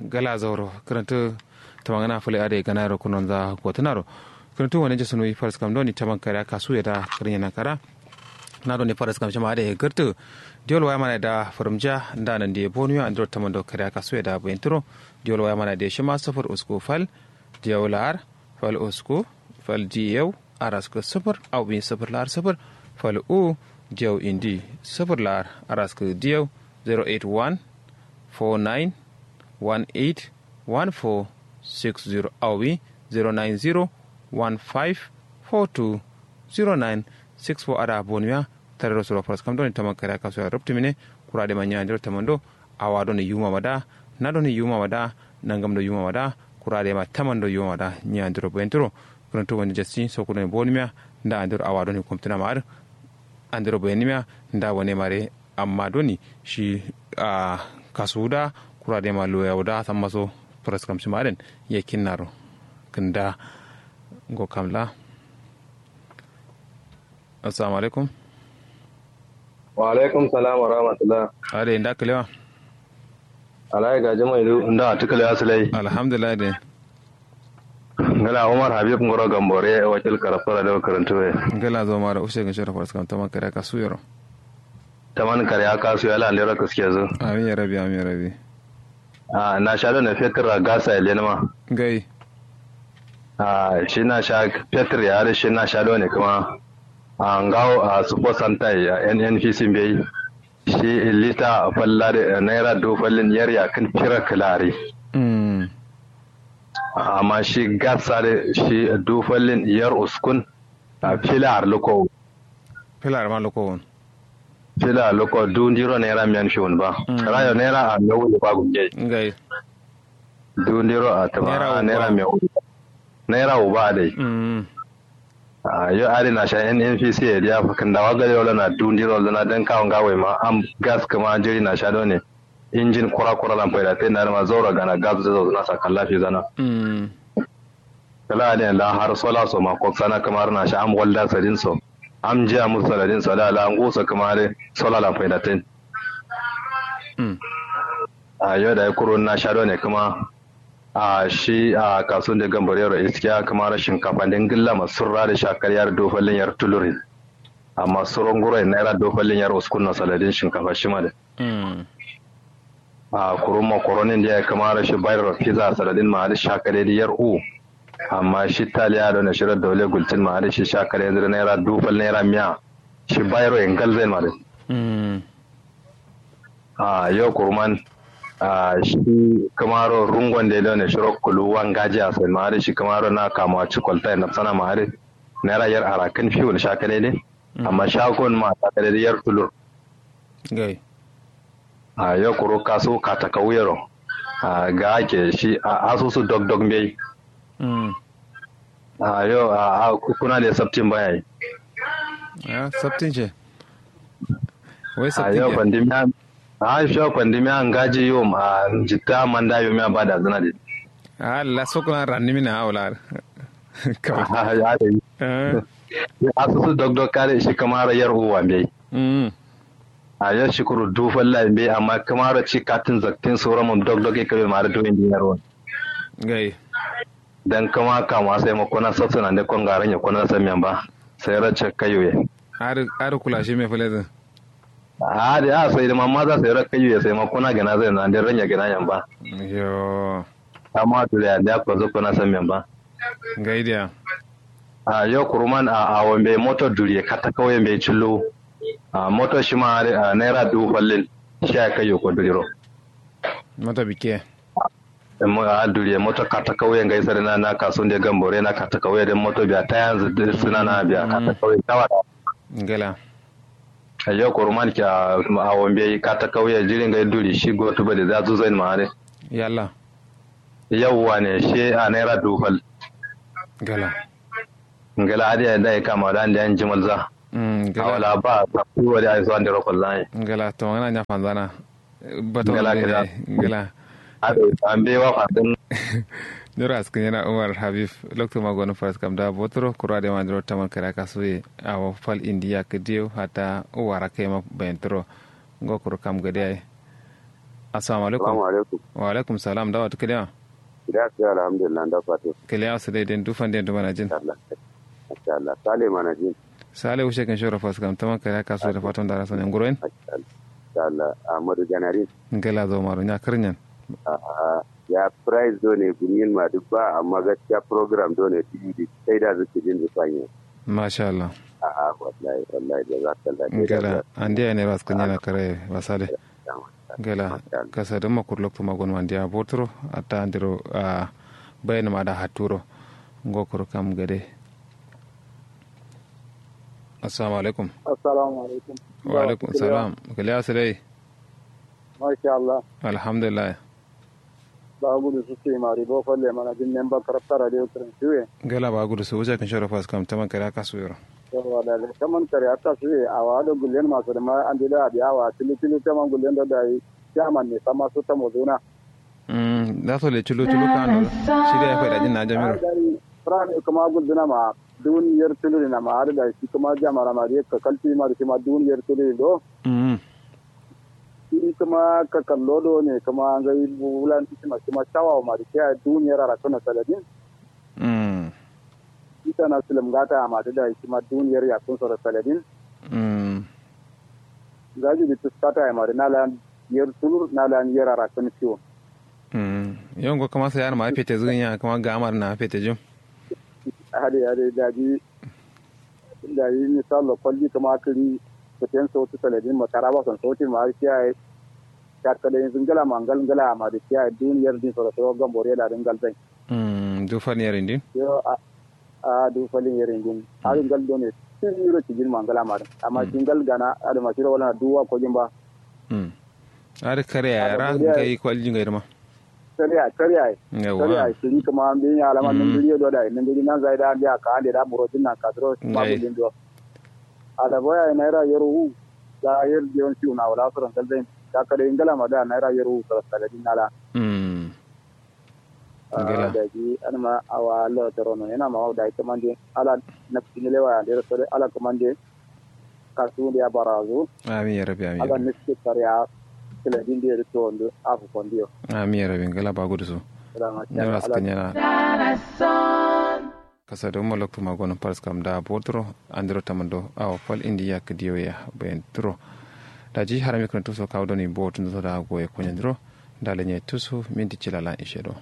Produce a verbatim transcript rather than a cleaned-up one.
Gala zauro kǝrǝntǝ. Tamangana fǝlai adai gana yero kunonza gotǝnaro. Kǝrǝntǝ wane jasu nuyi faraskam doni taman kariya kasu yeda kǝrǝnyena kara. Na doni faraskam shima adai gǝrtǝ. Diyol waya mana da fǝrǝmja nda nandi bonuya andiro tamando kariya kasu yeda bayintǝro. Diyol waya mana da shima sufur usku fal diyau la'ar fal usku fal diyau araskǝ sufur au ɓin sufur la'ar sufur fal u diyau indi sufur la'ar araskǝ diyau. Zero eight one four nine one eight one four six zero au wi zero nine zero one five four two zero nine six four ada bonuya. Tarero suro faraskam doni taman kariya kasu ya rubtumine. Kura de ma nya andiro tamando awa doni yuma mada na doni yuma mada nangam do yuma mada kura de ma tamando yuma mada nya andiro bayintǝro. Kǝrǝntǝ wani jasi sokudoni bonumiya nda andiro awa doni kumtǝna ma adǝ andiro bayanimiya nda wane mare. Amma doni shi a kasuwu da kura de ma loya wuda samma so faraskam shima adin. Yakin naro kǝnda ngo kamla. Assalamu alaikum. Wa alaikum salam wa rahmatullah. Adai nda kǝlewa. Alai gaji mai du nda tukalewa sulai. Alhamdulillah de. Ngala umar habib ngoro gambore wakil karafara da karantu we. Ngala zo mara ushe gin shara faraskam taman kare aka suyero. Taman kare aka suyero ala andero kaske zu. Amin ya rabi amin ya rabi. A na sha do ne fetur a gasa ya lenma. Ngai. A shi na sha fetur ya ari shi na sha do ne kuma a ngawo a support center ya nnpc mbeyi. Shi lita falla da naira du fallin yar yakin fira kilari. Amma shi gas sare shi du fallin yar uskun. A filar luko. Filar ma luko wun. Filar luko du ndiro naira miyan fiwun ba. Rayo naira a mewu ba gunge. Ngai. Du ndiro a tama naira mewu. Naira uba dai. Yo ari na sha nnpc ya diya fakin dawa gari wala na du ndiro zana dan kawo ngawai ma am gas kuma jiri na sha done. Injin kura kura lan faida tai na ma zaura gana gas da zauna sakan lafi zana. Kala adin la har sola so ma koksana kamar na sha am walda sadin so. Am jiya musu saladin so da la ngusa kamar sola lan faida tai. A yo da kuro na sha done kuma a shi a kasun da gambar yaro iskiya kamar shinkafa din gilla masurra da shakar yar dofallin yar tulurin. Amma suron guro naira dofallin yar uskun na saladin shinkafa shi ma da. A kurun makoronin da ya kamara shi bayar pizza saladin ma da shakare da yar u. Amma shi taliya da na shirar daule gultin ma da shi shakare yanzu da naira dufal naira miya. Shi bayar yin galzain ma da. A yau kurman a shi kamaro rungon da ya daune shiro kuluwan gaji a sai ma da shi kamaro na kamuwa cikwalta ya nafsana ma da naira yar arakan fiwul shakare ne. Amma shagon ma shakare da yar tulur. Gai. A yo kuru kasu kata kauyero. A ga ake shi a asusu dog dog mbei. A yo a kuna da sabtin baya yi. A sabtin ce. Wai sabtin ce. A yo pandemiya a fiya pandemiya ngaji yom a jitta manda yomiya ba da zina de. A la sokuna ranni mina a wala. Kawai a da yi. Asusu dogdog kare shi kamaro yar uwa mbei. A yar shukuru dufalla mbei amma kamaro ci katin zaktin soro mum dogdog ikabe mare duwin din yar uwa. Gai. Dan kama kama sai ma kuna sabsana nde kon garan ya kuna san men ba. Sai ra cakka yuye. Ari kula shi me fulezin. A da ya sai da mamma za sai ra kayu ya sai ma kuna gana zai na nde ranya gana yan ba. Yo. Amma duriya da ko zo kuna san men ba. Gai dia. A yo kuruman a awon be moto duriye kata kauye be cillo. A moto shi ma naira dubu fallin. Shi ya kayu ko duriro. Moto bike. A duriye moto kata kauye ngai sare na na kasu nde gambore na kata kauye den moto biya ta yanzu suna na biya kata kauye tawa. Ngala. Ayo kuruman kya awon be kata kauye jiri ngai duri shi go tuba de za zu zain ma are. Yalla. Yawwa ne she a naira dufal. Ngala. Ngala adi ya dai kama da ande an jimal za. Ngala. Awala ba ta kuwa da ai so ande rokol zai. Ngala to ngana nya fanzana. Bato ngala kida. Ngala. Ado ambe wa fadin. Nyoro askin yana umar habib. Lokto ma gonu faras kam da botoro kurwa de mandiro taman kara kasuye. Awo fal indiya kidiyo hata uwara kai ma bayantoro. Ngo kuru kam gade ai. Assalamu alaikum. Wa alaikum salam, dawa tukiliya? Kiliya sai alhamdulillah, nda fatu. Kiliya sai dai, den dufan den dumana jin. Masha Allah. Sale mana jin. Sale ushe kin shoro faskam taman kare aka so da fatan da rasa ne nguroyin. Masha Allah. Ahmadu Ganari. Ngala zo maro nya karnyan. A'a, ya price do ne gunyin ma duk ba, amma gaskiya program do ne tv di sai da zuke jin zufanye. Masha Allah. A'a, wallahi wallahi da za ka lafiya. Ngala ande ne ras kan yana kare wasale. Ngala kasa da makur lokto magon mandiya botro atta andiro. Bayan ma da haturo. Ngo kuro kam gade. Assalamu alaikum. Assalamu alaikum. Wa alaikum salam. Kaliya sirai. Masha Allah. Alhamdulillah. Ba gudu su sai mari bo falle mana jin memba karabta radio kiran shuwe. Gela ba gudu su wuce kan shoro fas kam taman kare aka su yoro. Yawa da taman kare aka su ye awa do gullen masu da ma an dila abi awa tilu tilu taman gullen do dai. Chairman ne sama su tamo zuna. Mm, da so le tilu tilu kan do shi da ya faida jin na jamiro. Fura ne kuma gulzuna ma dun yar tilu ne na ma har da shi kuma jamara ma da ka kalti ma da shi ma dun yar tilu do. Mm. Shi kuma ka kallo do ne kuma ngai bulan shi ma shi ma shawa ma da shi dun yar ara kana saladin. Mm. Ita na silim gata ma da shi ma dun yar ya kun soro saladin. Mm. Gaji da tuskata ya ma da na lan yar tulur na lan yar ara kana ciwo. Mm. Yongo kuma sai an ma fete zun ya kuma ga amar na fete jum. Hade hade daji. Daji misallo kwalji kuma kiri fiten sauti saladin ma taraba son sauti ma har kiyaye. Katkada yin zingala ma ngal ngala ma da kiyaye duniyar din soro soro gambore da dingal zai. Mm, dufan yarin din. Yo a a dufalin yarin din. Har ngal do ne tiro cijin ma ngala ma da amma shi ngal gana adama shiro wala duwa ko jin ba. Mm. Har kare ya ra ngai kwalji ngai ma. Kariya kariya. Yawa. Kariya siri kuma an bin ya alama nan duriyo do da nan duri nan zai da an biya ka ande da buro din nan ka duro ma gudin do. Ada boya naira yero hu. Da yer dion siu na wala suran kalzai. Da kare ingala ma da naira yero hu sara saladin nala. Mm. Ngala da ji an ma awa Allah tarono yana ma da kamande ala nafsi ne lewa da sare ala kamande. Kasu da ya barazu. Amin ya rabbi amin. Ala niski kariya. Kila din da ya rito wando afu kondiyo. Amin ya rabbi ngala ba gudu su. Nyara su kanyana. Kasa da umar loktu magonin faris kam da botoro andiro tamando awa fal indi ya kidiyo ya bayan turo. Da ji harami kan tuso kawo doni botun da goye konyan duro. Da lanye tuso minti cilala ishe do.